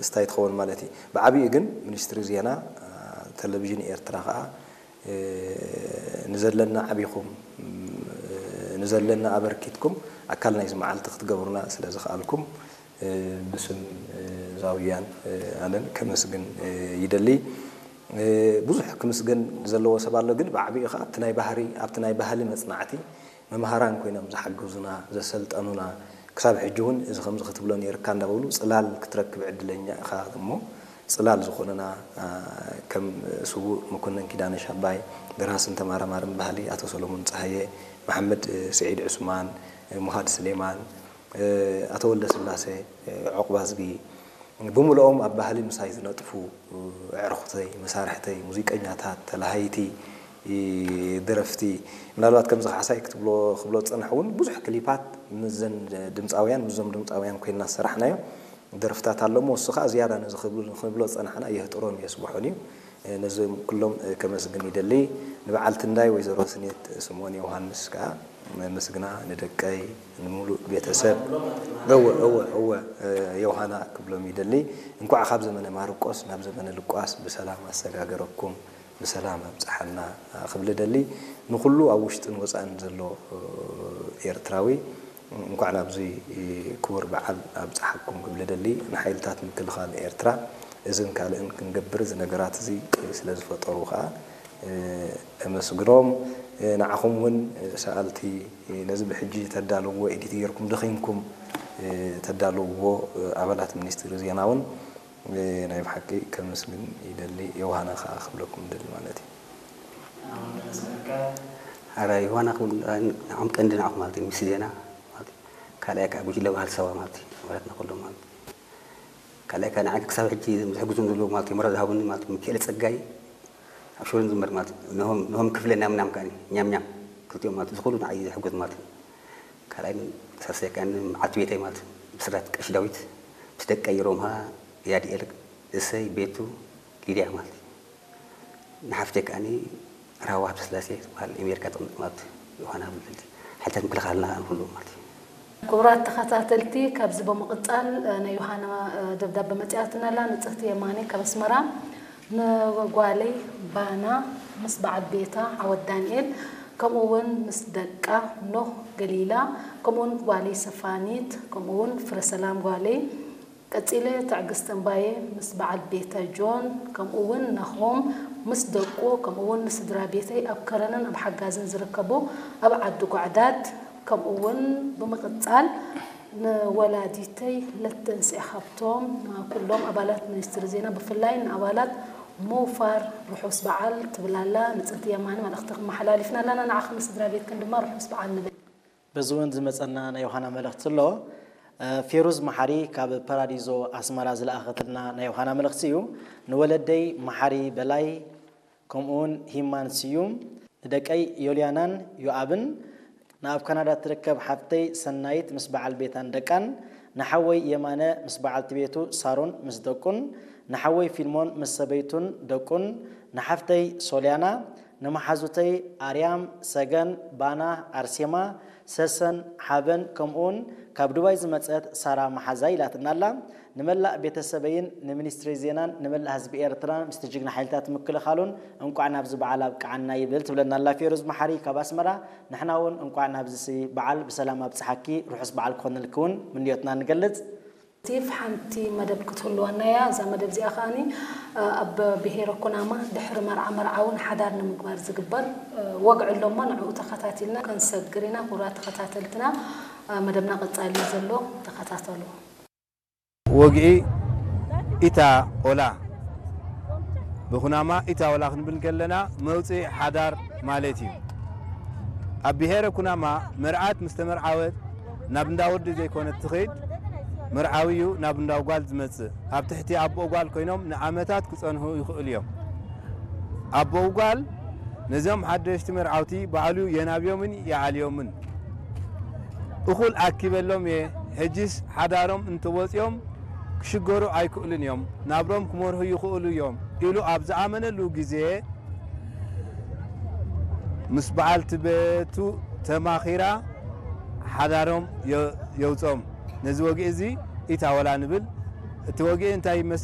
ስታይ ትኸውን ማለት እዩ። ብዓቢኡ ግን ሚኒስትሪ ዜና፣ ቴሌቪዥን ኤርትራ ከኣ ንዘለና ዓቢኹም ንዘለና ኣበርኪትኩም ኣካል ናይዚ መዓልቲ ክትገብሩና ስለ ዝኸኣልኩም ብስም ዛውያን ኣነን ከመስግን ይደሊ። ብዙሕ ክምስገን ዘለዎ ሰብ ኣሎ፣ ግን ብዓቢኡ ከኣ ኣብቲ ናይ ባህሪ ኣብቲ ናይ ባህሊ መጽናዕቲ መምሃራን ኮይኖም ዝሓገዙና ዘሰልጠኑና ክሳብ ሕጂ እውን እዚ ከምዚ ክትብሎ ነይርካ እንዳበሉ ጽላል ክትረክብ ዕድለኛ ኢኻ እሞ ጽላል ዝኾኑና ከም ስዉእ መኮነን ኪዳነ ሻባይ፣ ደራስን ተመራማርን ባህሊ ኣቶ ሰሎሞን ጸሃየ፣ መሓመድ ስዒድ ዑስማን፣ ሙሃድ ስሌማን፣ ኣቶ ወልደስላሴ ዑቕባዝጊ ብምልኦም ኣብ ባህሊ ምሳይ ዝነጥፉ ኣዕሩኽተይ፣ መሳርሕተይ፣ ሙዚቀኛታት፣ ተላሃይቲ፣ ደረፍቲ፣ ምናልባት ከምዚ ካሕሳይ ክትብሎ ክብሎ ዝጸናሕ እውን ብዙሕ ክሊፓት ምስዘን ድምጻውያን ምስዞም ድምጻውያን ኮይንና ዝሰራሕናዮ ደርፍታት ኣሎ እሞ እሱ ከዓ ዝያዳ ነዚ ክብል- ክንብሎ ዝጸናሕና የህጥሮን የስብሖን እዩ። ነዞም ኩሎም ከመስግን ይደሊ። ንበዓል ትንዳይ ወይዘሮ ስኔት ስምኦን ዮሃንስ ከዓ ምስግና ንደቀይ ንምሉእ ቤተሰብ እወ እወ እወ ዮሃና ክብሎም ይደሊ። እንኳዕ ካብ ዘመነ ማርቆስ ናብ ዘመነ ልቋስ ብሰላም ኣሰጋገረኩም። ብሰላም ኣብጽሓና ክብል እደሊ። ንኹሉ ኣብ ውሽጥን ወጻእን ዘሎ ኤርትራዊ እንኳዕ ናብዚ ክቡር በዓል ኣብጽሓኩም ክብል እደሊ። ንሓይልታት ምክልኻል ኤርትራ እዝን ካልእን ክንገብር እዚ ነገራት እዚ ስለ ዝፈጠሩ ከኣ እመስግኖም። ንዓኹም እውን ሰኣልቲ ነዚ ብሕጂ ተዳልውዎ ኤዲት ጌርኩም ደኺምኩም ተዳልውዎ ኣባላት ሚኒስትሪ ዜና እውን ናይ ብሓቂ ከመስግን ይደሊ። ዮሃና ከኣ ክብለኩም ይደሊ ማለት እዩ። ኣረ ዮሃና ክብል ንዓኹም ቀንዲ ንዓኹም ማለት እዩ ምስ ዜና ማለት እዩ። ካልኣይ ከዓ ጉጅለ ባህል ሰባ ማለት እዩ ኣባላትና ኩሎም ማለት እዩ። ካልኣይ ከዓ ንዓይ ክሳብ ሕጂ ዝሕግዙን ዘለዉ ማለት እዩ መራ ዝሃቡኒ ማለት እዩ ሚካኤል ፀጋይ ኣብ ሽወደን ዝንበር ማለት እዩ። ነሆም ክፍለ ናምናም ከዓ ኛም ኛም ክልቲኦም ማለት እዩ ዝኽእሉ ንዓይ ዝሕግዝ ማለት እዩ። ካልኣይ ሳልሳይ ከዓ መዓልቲ ቤተይ ማለት እዩ ብስራት ቀሺ ዳዊት ምስ ደቀይ ሮምሃ ያድኤል እሰይ ቤቱ ሊድያ ማለት እዩ። ንሓፍተይ ከዓኒ ራህዋ ሃብተስላሴ ትበሃል ኣሜሪካ ትቕመጥ ማለት ዮሃና ብልልቲ ሓይልታት ምክልኻልና ከዓኒ ኩሉ ማለት እዩ። ክቡራት ተኸታተልቲ፣ ካብዚ ብምቕጻል ናይ ዮሃና ደብዳበ መጺኣትና ኣላ። ንጽህቲ የማነ ካብ ኣስመራ ንጓለይ ባና ምስ በዓል ቤታ ዓወት ዳንኤል ከምኡ እውን ምስ ደቃ ኖህ ገሊላ ከምኡ እውን ጓለይ ሰፋኒት ከምኡ እውን ፍረሰላም ጓለይ ቀጺለ ትዕግስቲ እምባየ ምስ በዓል ቤታ ጆን ከምኡ እውን ናሆም ምስ ደቁ ከምኡ እውን ንስድራ ቤተይ ኣብ ከረንን ኣብ ሓጋዝን ዝርከቡ ኣብ ዓዲ ጓዕዳድ ከምኡ እውን ብምቕጻል ንወላዲተይ ለተንስኤ ሃብቶም ንኩሎም ኣባላት ሚኒስትሪ ዜና ብፍላይ ንኣባላት ሞፋር ርሑስ በዓል ትብል ኣላ ንጽህቲ የማነ መልእኽቲ ክመሓላሊፍና ኣለና ንዓኺ ንስድራ ቤትክን ድማ ርሑስ በዓል ንብል። በዚ እውን ዝመፀና ናይ ዮሃና መልእኽቲ ኣሎ። ፌሩዝ መሓሪ ካብ ፓራዲዞ ኣስመራ ዝለኣኸትልና ናይ ዮሃና መልእኽቲ እዩ። ንወለደይ መሓሪ በላይ ከምኡውን ሂማን ስዩም፣ ንደቀይ ዮልያናን ዮኣብን፣ ንኣብ ካናዳ እትርከብ ሓፍተይ ሰናይት ምስ በዓል ቤታን ደቃን፣ ንሓወይ የማነ ምስ በዓልቲ ቤቱ ሳሮን ምስ ደቁን፣ ንሓወይ ፊልሞን ምስ ሰበይቱን ደቁን፣ ንሓፍተይ ሶልያና፣ ንመሓዙተይ ኣርያም፣ ሰገን፣ ባና፣ ኣርሴማ፣ ሰሰን፣ ሓበን ከምኡውን ካብ ዱባይ ዝመጸት ሳራ መሓዛይ ኢላትና ኣላ። ንመላእ ቤተሰበይን ንሚኒስትሪ ዜናን ንመላእ ህዝቢ ኤርትራን ምስቲ ጅግና ሓይልታት ምክልኻሉን እንቋዕ ናብዚ በዓል ኣብቅዓና ይብል ትብለና ኣላ ፌሩዝ መሓሪ ካብ ኣስመራ። ንሕና እውን እንቋዕ ናብዚ በዓል ብሰላም ኣብጽሓኪ ርሑስ በዓል ክኾነልኪ እውን ምንዮትና ንገልጽ። ስቲቭ፣ ሓንቲ መደብ ክትህልወና እያ። እዛ መደብ እዚኣ ከኣኒ ኣብ ብሄረ ኩናማ ድሕሪ መርዓ መርዓውን ሓዳር ንምግባር ዝግበር ወግዒ ኣሎ እሞ ንዕኡ ተኸታቲልና ክንሰግር ኢና። ክቡራት ተኸታተልትና መደብና ቀጻሊ እዩ ዘሎ፣ ተኸታተሉ። ወግዒ ኢታ ኦላ ብኹናማ ኢታ ኦላ ክንብል ከለና መውፅኢ ሓዳር ማለት እዩ። ኣብ ብሄረ ኩናማ መርዓት ምስ ተመርዓወት ናብ እንዳ ወዲ ዘይኮነት ትኸይድ፣ መርዓዊ እዩ ናብ እንዳ ጓል ዝመጽእ። ኣብ ትሕቲ ኣቦኡ ጓል ኮይኖም ንዓመታት ክጸንሑ ይኽእሉ እዮም። ኣቦኡ ጓል ነዞም ሓደሽቲ መርዓውቲ ባዕሉ የናብዮምን ይኣልዮምን። እኹል ኣኪበሎም እየ፣ ሕጂስ ሓዳሮም እንተወጺኦም ክሽገሩ ኣይክእሉን እዮም፣ ናብሮም ክመርሑ ይኽእሉ እዮም ኢሉ ኣብ ዝኣመነሉ ግዜ ምስ በዓልቲ ቤቱ ተማኺራ ሓዳሮም የውጾም። ነዚ ወግዒ እዚ ኢታወላ ንብል። እቲ ወግዒ እንታይ ይመስል?